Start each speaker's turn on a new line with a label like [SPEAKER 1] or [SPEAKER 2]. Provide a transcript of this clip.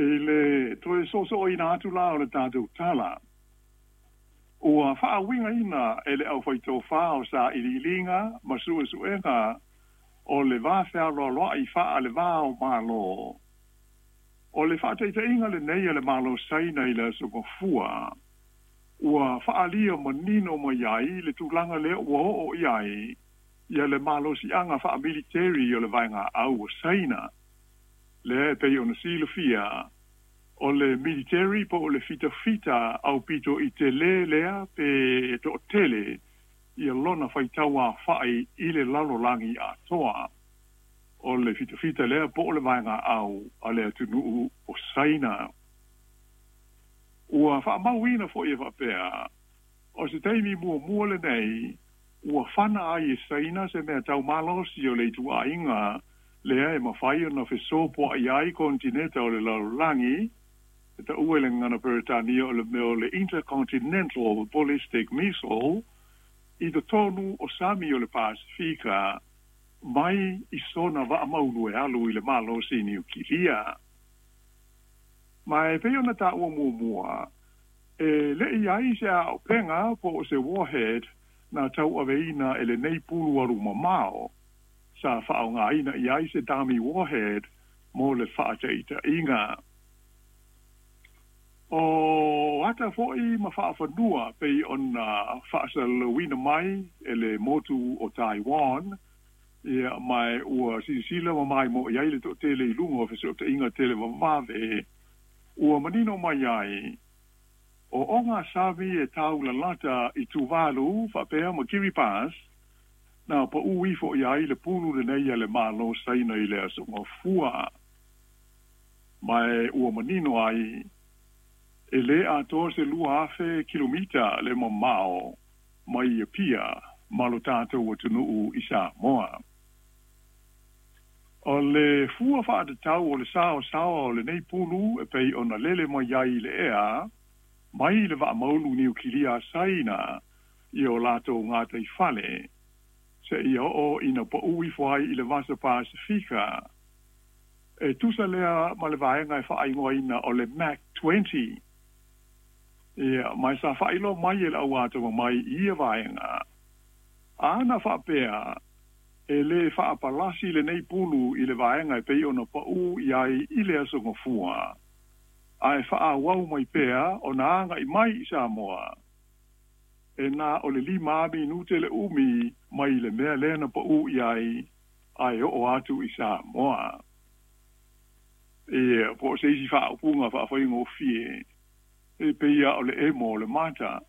[SPEAKER 1] I le toe soosooina atu la o le tatou tala, ua faauigaina e le aufaitofā o sailiiliga ma suesuega o le va fealoaloai faale-va o Malo, o le faataitaiga lenei a le Malo Saina i le Aso Gafua, ua faaalia manino mai ai le tulaga lea ua oo i ai ia le malosiaga faamiliteri o le vaegaau o Saina. Lea e pei ona silafia, o le militeri po o le fitafita aupito i telē lea pe toatele ia lona faitau aofai i le lalolagi atoa. O le fitafita lea po o le vaegaau a le atunuu o Saina. Ua faamauina foi e faapea, o se taimi muamua lenei ua fana ai e Saina se mea taumalosi o le ituaiga lea e mafai ona fesopoai ai konetineta o le lalolagi, e taua i le gagana Peretania o le mea o le Intercontinental Ballistic Missile, i totonu o sami o le Pasefika mai i sona vaa maulu e alu i le malosi niukilia. Ma e pei ona taua muamua, e le i ai se aopega po o se warhead na tauaveina e lenei pulu alu mamao, sa faaaogaina i ai se dummy warhead mo le faataitaiga. O ata foi ma faafanua pei ona faasalalauina mai e le motu o Taiwan, ia, ma ua silasila ma maimoa i ai le toatele i luga o fesootaiga televavave, ua manino mai ai, o ogasami e taulalata i Tuvalu faapea ma Kiribati, na paū ifo i ai le pulu lenei a le Malo Saina i le Aso Gafua. Ma ua manino ai, e lē atoa se 2,000 kilomita le mamao mai Apia ma lo tatou atunuu i Samoa. O le fua faatatau o le saosaoa o lenei pulu e pei ona lele mai ai i le ea, mai le vaamaulu niukilia a Saina i o latou gataifale, seia oo ina paū ifo ai i le Vasa Pasefika, e tusa lea ma le vaega e faaigoaina o le Mach 20. Ia, ma sa faailoa mai e le au atamamai i ia vaega, ana faapea e lē faapalasi lenei pulu i le vaega e pei ona paū i ai i le Aso Gafua, ae faaauau mai pea ona agai mai i Samoa, e na o le 5 minute le umi mai le mea lea na paū i ai ae oo atu i Samoa. Ia, po o se isi faaupuga faafaigofie, e pei lava o le emo o le mata.